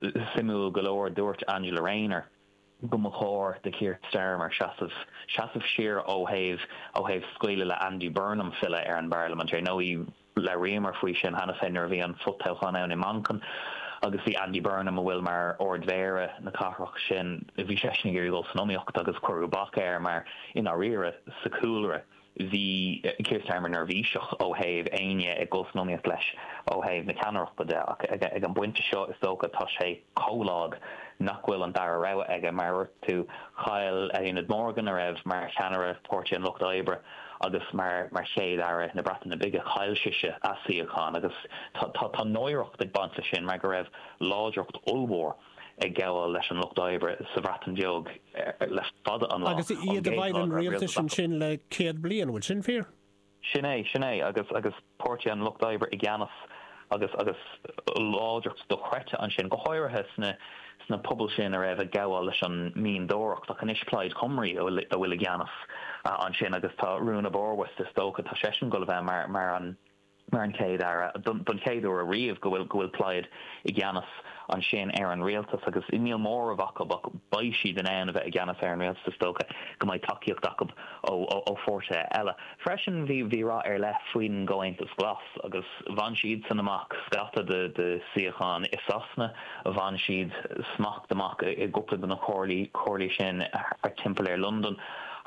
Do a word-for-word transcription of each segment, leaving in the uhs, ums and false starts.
Suimiúil go leor, dúirt Angela Rayner go mba chóir do Keir Starmer seasamh seasamh siar ó thaobh ó thaobh scaoileadh le Andy Burnham filleadh ar an bparlaimint. Ar ndóigh, labhraíomar faoi sin cheana féin nuair a bhí an fo-toghchán ann i Manchain agus bhí Andy Burnham, a bhfuil mar Ard-Mhéara na cathrach sin, bhí seisean ag iarraidh dul san iomaíocht agus cuireadh bac air mar i ndáiríre sa chúlra bhí Keir Starmer neirbhíseach ó thaobh éinne ag dul san iomaíocht leis ó thaobh na ceannaireachta de. Ach ag an bpointe seo, is dócha, tá sé chomh lag nach bhfuil an dara rogha aige. Mar a dúirt tú, chaill Eluned Morgan, a raibh mar cheannaire Páirtí an Lucht Oibre agus mar mar Chéad-Aire na Breataine Bige, chaill sise a suíochán agus tá tá náireacht ag baint leis sin mar go raibh láidreacht ollmhór ag gabháil leis an Lucht Oibre sa Bhreatain Bheag le fada an lá. Agus iad i bhfeighil an rialtais ansin le céad bliain, an bhfuil sin fíor? Sin é, sin é, agus agus Páirtí an Lucht Oibre i gceannas agus agus láidreacht dochreidte ansin, go háirithe sna sna pobail sin a raibh ag gabháil leis an mianadóireacht. Ach anois Plaid Cymru a bhfuil a bhfuil i gceannas ansin agus tá Rhun ap Iorwerth, is dócha, tá seisean ag dul a bheith mar mar an mar an Chéad Aire don chéad uair ariamh go bhfuil go bhfuil Plaid i gceannas ansin ar an rialtas agus níl móramh acu ach beidh siad in ann a bheith i gceannas ar an rialtas, is dócha go mbeidh tacaíocht acu ó ó pháirtithe eile. Freisin bhí bhí rath ar leith faoin gComhaontas Glas agus bhain siadsan amach scata de de suíocháin i Sasana, bhain siad smacht amach i gcúpla de na comhairlí comhairlí sin thart timpeall ar Londain.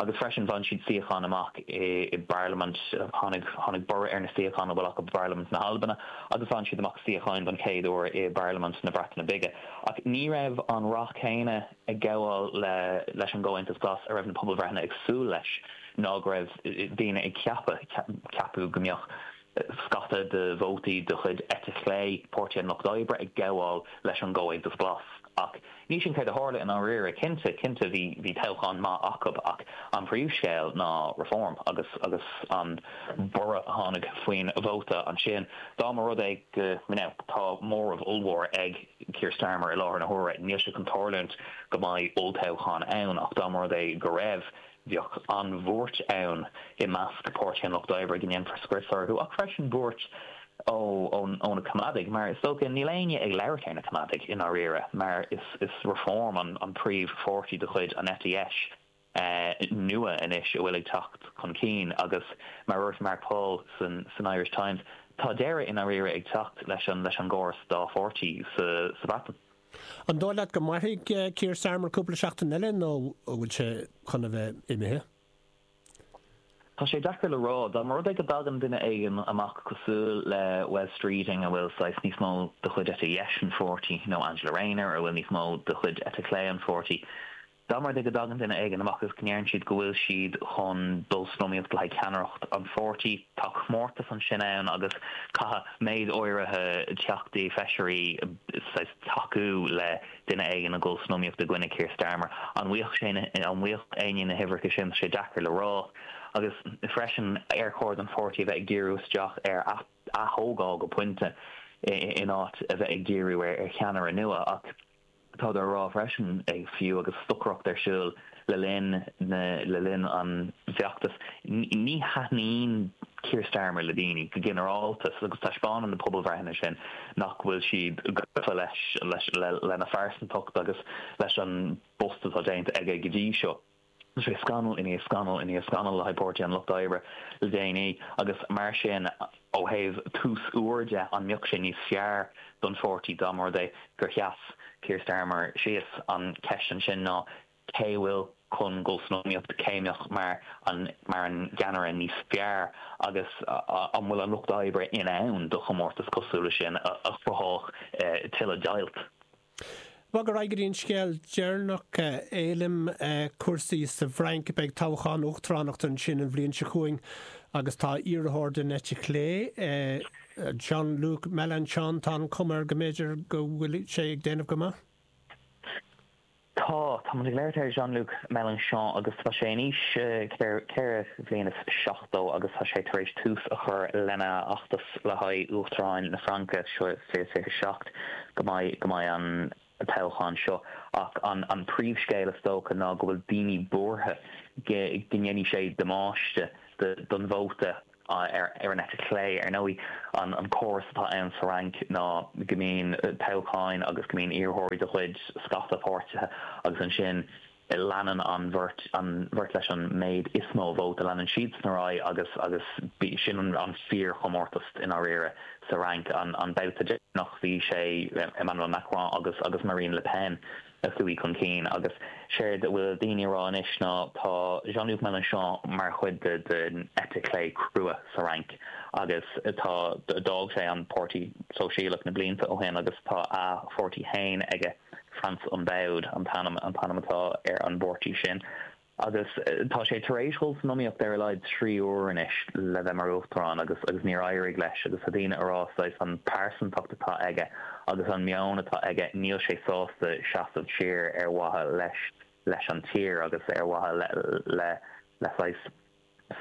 Agus freisin bhain siad suíocháin amach i bParlaimint, tháinig tháinig borradh ar na suíocháin a bhfuil acu i bParlaimint na hAlbana agus bhain siad amach suíocháin don chéad uair i bParlaimint na Breataine Bige. Ach ní raibh an rath céanna ag gabháil le leis an gComhaontas Glas a raibh na pobalbhreitheanna ag súil leis ná go raibh daoine ag ceapadh, ceapadh go mbeadh scata de vótaí de chuid eite chlé Páirtí an Lucht Oibre ag gabháil leis an gComhaontas Glas. Ach ní sin céard a tharla i ndáiríre. Cinnte, cinnte bhí bhí toghchán maith acu ach an príomhscéal ná Reform agus agus an borradh a tháinig faoin vóta ansin. Dá mba rud é go now tá móramh ollmhór ag Keir Starmer i láthair na huaire, níl sé chun tarlúint go mbeidh olltoghchán ann ach dá mba rud é go raibh, Bheadh an-bhuairt ann i measc Páirtí an Lucht Oibre go ndéanfar scrios orthu, ach freisin buairt ó ó na Coimeádaigh, mar is dócha níl éinne ag labhairt ar na Coimeádaigh i ndáiríre, mar is is Reform an an príomhpháirtí de chuid an eite dheis nua anois a bhfuil ag teacht chun cinn agus mar a dúirt Mark Paul san san Irish Times, tá deireadh i ndáiríre ag teacht leis an leis an gcóras dá pháirtí sa sa Bhreatain. An dóigh leat go mairfidh Keir Starmer cúpla seachtain eile nó an bhfuil sé chun a bheith imithe? Tá sé deacair le rá. Dá mba rud é go dtagann duine éigin amach cosúil le Wes Streeting a bhfuil saghas níos mó de chuid eite dheis an pháirtí nó Angela Rayner a bhfuil níos mó de chuid eite chlé an pháirtí, Dá mba rud é go dtagann duine éigin amach agus go ndeireann siad go bhfuil siad chun dul san iomaíocht le haghaidh ceannaireacht an pháirtí, tá comórtas ansin ann agus caithfidh méid áirithe teachtaí, feisirí, saghas tacú le duine éigin a dhul san iomaíocht i gcoinne Keir Starmer. An bhfaigheadh sé na, an bhfaigheadh éinne na huimhreacha sin? Tá sé deacair le rá. Agus freisin, ar chóir don pháirtí a bheith ag díriú isteach ar ath-ath-thógáil go pointe in áit a bheith ag díriú ar cheannaire nua? Ach. Táthar á rá freisin, fiú agus stocaireacht ar siúl le linn na le linn an bhfeachtais, ní thaitníonn Keir Starmer le daoine go ginearálta agus taispeánann na pobalbhreitheanna sin nach bhfuil siad gafa leis leis lena phearsantacht agus leis an bpost atá déanta aige go dtí seo. Tá sé scannal i ndiaidh scannal i ndiaidh scannal le haghaidh Páirtí an Lucht Oibre le déanaí agus mar sin ó thaobh tús úr de, an mbeadh sé níos fearr don pháirtí dá mba rud é gur sheas Keir Starmer síos? An cheist ansin ná cé a bhfuil chun dul san iomaíocht, cé a mbeadh mar an mar an gceannaire níos fearr agus an bhfuil an Lucht Oibre in ann do chomórtas cosúil leis sin a chruthódh tuilleadh deighilt? Bog ar aghaidh go dtí an scéal deireanach, Éilim, cúrsaí sa bhFrainc. Beidh toghchán uachtaránachta ansin an bhliain seo chugainn agus tá iarrthóir den eite chlé, Jean-Luc Mélenchon, tá an chuma air go mb'fhéidir go bhfuil sé ag déanamh go maith. Tá, tá muid ag labhairt ar Jean-Luc Mélenchon agus tá sé in aois ceithre bhliain is seachtó agus tá sé tar éis tús a chur lena fheachtas le haghaidh Uachtaráin na Fraince seo fiche fiche seacht go mbeidh go mbeidh an toghchán seo ach an an príomhscéal is dócha ná go bhfuil daoine buartha go go ndéanfaidh sé damáiste don vóta ar ar an eite chlé. Ar ndóigh, an an córas atá ann sa Fhrainc ná go mbíonn toghcháin agus go mbíonn iarrthóirí de chuid scata páirtithe, agus ansin leanann an bheirt an bheirt leis an méid is mó vóta, leanann siadsan ar aghaidh, agus agus sin an an fíorchomórtas i ndáiríre sa Fhrainc. an an babhta deireanach, bhí sé Emmanuel Macron agus agus Marine Le Pen a chuaigh chun cinn, agus séard a bhfuil daoine ag rá anois ná tá Jean-Luc Mélenchon mar chuid de den eite chlé crua sa Fhrainc, agus tá d'fhág sé an Páirtí Sóisialach na blianta ó shin agus tá a pháirtí féin aige. France Unbowed an t-ainm an t-ainm atá ar an bpáirtí sin, agus tá sé tar éis dul san iomaíocht ar a laghad trí huaire anois le bheith mar uachtarán agus agus níor éirigh leis. Agus tá daoine ag rá saghas an pearsantacht atá aige agus an meon atá aige, níl sé sásta seasamh siar ar mhaithe leis leis an tír agus ar mhaithe le le le saghas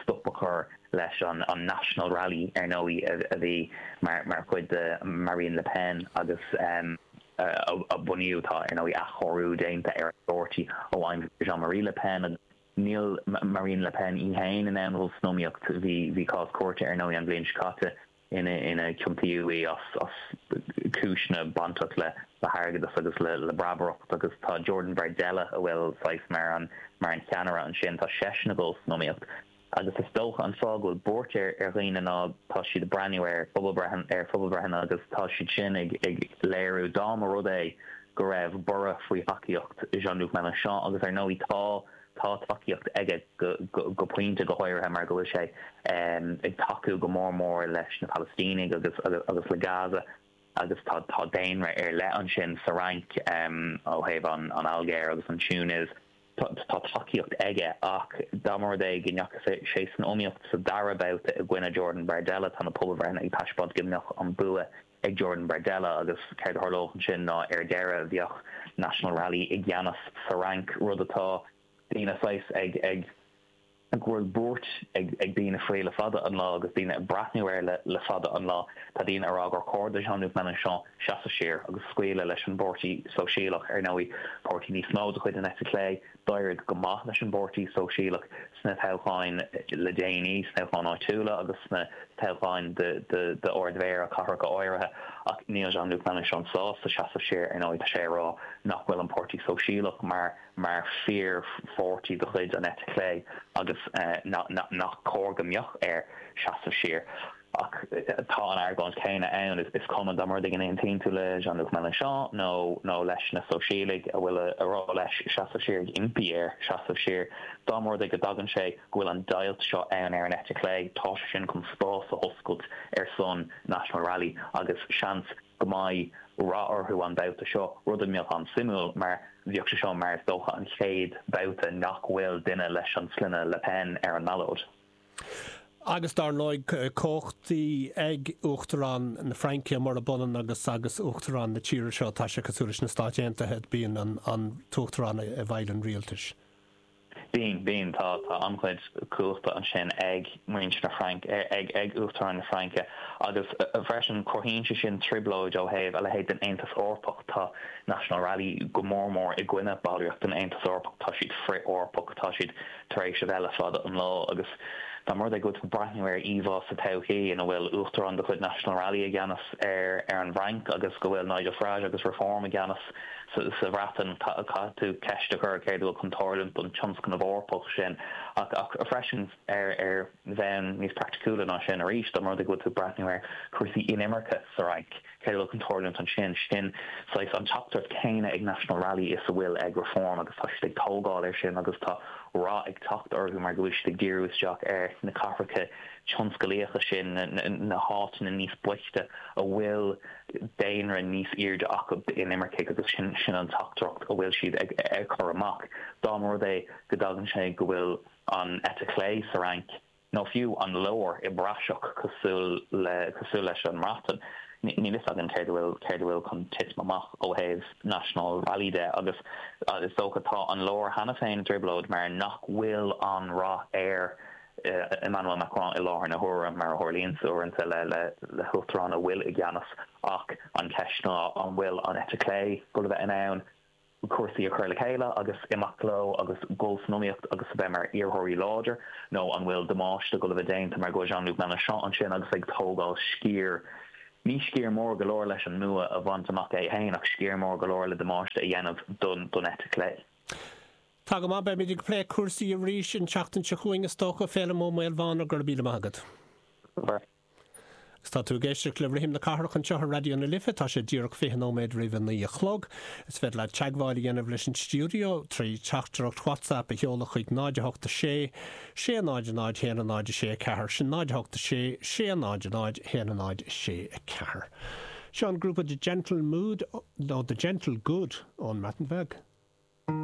stop a chur leis an an National Rally, ar ndóigh, a bhí mar mar chuid de Marine Le Pen agus um, a bunaíodh. Tá, ar ndóigh, athchóiriú déanta ar an bpáirtí ó aimsir Jean-Marie Le Pen, agus níl Marine Le Pen í féin in ann dul san iomaíocht. bhí bhí cás cúirte, ar ndóigh, an bhliain seo caite ina ina ciontaíodh í as as cúiseanna bainteach le le hairgeadas agus le le breabaireacht, agus tá Jordan Bardella, a bhfuil saghas mar an mar an cheannaire ansin, tá seisean ag dul san iomaíocht. Agus is dócha an fáth go bhfuil buairt ar ar dhaoine ná tá siad ag breathnú ar phobalbhreitheanna ar phobalbhreitheanna agus tá siad sin ag ag léiriú dá mba rud é go raibh borradh faoi thacaíocht Jean-Luc Mélenchon, agus ar ndóigh tá tá tacaíocht aige go go go pointe, go háirithe mar go bhfuil sé ag tacú go mór mór leis na Palaistínigh agus agus agus le Gaza, agus tá tá daonra ar leith ansin sa Fhrainc ó thaobh an an Ailgéir agus an Túinéis. Tá tacaíocht aige, ach dá mba rud é go ndeachaigh sé san iomaíocht sa dara babhta i gcoinne Jordan Bardella, tá na pobalbhreitheanna ag taispeáint go mbeadh an bua ag Jordan Bardella, agus céard a tharlódh ansin ná ar deireadh bheadh National Rally i gceannas sa Fhrainc, rud atá daoine saghas ag ag go bhfuil buairt ag ag daoine faoi le fada an lá agus daoine ag breathnú air le le fada an lá. Tá daoine ag rá gur chóir do Jean-Luc Mélenchon seasamh siar agus scaoileadh leis an bPáirtí Sóisialach, ar ndóigh, páirtí níos mó de chuid an eite chlé. D'éirigh go maith leis an bPáirtí Sóisialach sna toghcháin le déanaí, sna toghcháin áitiúla agus sna toghcháin d'Ard-Mhéara cathracha áirithe, ach níl Jean-Luc Mélenchon sásta seasamh siar. Ar ndóigh, tá sé ag rá nach bhfuil an Páirtí Sóisialach mar mar fíorpháirtí de chuid an eite chlé agus nach cóir go mbeadh air seasamh siar. Ach tá an argóint céanna ann, is cuma dá mba rud é go n-aontaíonn tú le Jean-Luc Mélenchon nó nó leis na Sóisialaigh a bhfuil ag rá leis seasamh siar, ag impí air seasamh siar, dá mba rud é go dtagann sé go bhfuil an deighilt seo ann ar an eite chlé, tá sé sin chun spás a oscailt ar son National Rally agus seans go mbeidh rath orthu an babhta seo, rud a mbeadh an-suimiúil mar bheadh sé seo mar is dócha an chéad babhta nach bhfuil duine leis an sloinne Le Pen ar an mballóid. Agus dar ndóigh cumhachtaí ag Uachtarán na Fraince, murab ionann agus agus Uachtarán na tíre seo. Tá sé cosúil leis na Stáit Aontaithe, bíonn an an tUachtarán i bhfeighil an rialtais. Bíonn, bíonn, tá tá an-chuid cumhachta ansin ag muintir na Fraince, ag ag Uachtarán na Fraince, agus freisin cruthaíonn sé sin trioblóid ó thaobh a leithéid den Aontas Eorpach. Tá National Rally go mór mór i gcoinne ballraíocht den Aontas Eorpach, tá siad frith-Eorpach, tá siad tar éis a bheith le fada an lá, agus dá mba rud é go bhfuil tú ag breathnú ar íomhá sa todhchaí ina bhfuil uachtarán de chuid National Rally i gceannas ar ar an bhFrainc agus go bhfuil Nigel Farage agus Reform i gceannas sa Bhreatain, caithfidh tú ceist a chur céard a bhfuil chun tarlúint don tionscnamh Eorpach sin. Ach ach freisin, ar ar bhonn níos praiticiúla ná sin arís, dá mba rud é go bhfuil tú ag breathnú ar chúrsaí inimirce sa Fhrainc, céard a bhfuil chun tarlúint ansin? Sin saghas an teachtaireacht chéanna ag National Rally is a bhfuil ag Reform, agus tá siad ag tógáil air sin agus tá rath ag teacht orthu mar go bhfuil siad ag díriú isteach ar na cathracha tionsclaíocha sin, na háiteanna níos boichte a bhfuil daonra níos airde acu d'inimircigh, agus sin sin an teachtaireacht a bhfuil siad ag ag cur amach. Dá mba rud é go dtagann sé go bhfuil an eite chlé sa Fhrainc, nó fiú an lár i bpraiseach cosúil le cosúil leis an mBreatain, níl fhios againn céard a bhfuil céard a bhfuil chun titim amach ó thaobh National Rally de. Agus is dócha tá an lár cheana féin i dtrioblóid mar nach bhfuil an rath ar Emmanuel Macron i láthair na huaire, mar a tharlaíonn uaireanta le le le huachtarán a bhfuil i gceannas. Ach an cheist ná an bhfuil an eite chlé go bheith in ann cúrsaí a chur le chéile agus imeacht leo agus dul san iomaíocht agus a bheith mar iarrthóirí láidir nó an bhfuil damáiste ag dul a bheith déanta mar go Jean-Luc Mélenchon ansin agus ag tógáil sciar ní sciar mór go leor leis an mbua a bhaint amach é féin ach sciar mór go leor le damáiste a dhéanamh don don eite chlé. Tá go maith beimid ag plé cúrsaí arís an tseachtain seo chugainn is dócha Féilim Ó Maolmhána go raibh míle maith agat. Tá tú ag éisteacht le Rithim na Cathrach anseo ar Raidió na Life tá sé díreach fiche nóiméad roimh a naoi a chlog. Is féidir leat teagmháil a dhéanamh leis an stiúideo trí teachtaireacht WhatsApp a sheoladh chuig náid a hocht a sé, sé náid a náid haon a náid a sé a ceathair sin náid a hocht a sé, sé náid a náid haon a náid a sé a ceathair. Seo an grúpa The Gentle Mood nó The Gentle Good ón mBreatain Bheag.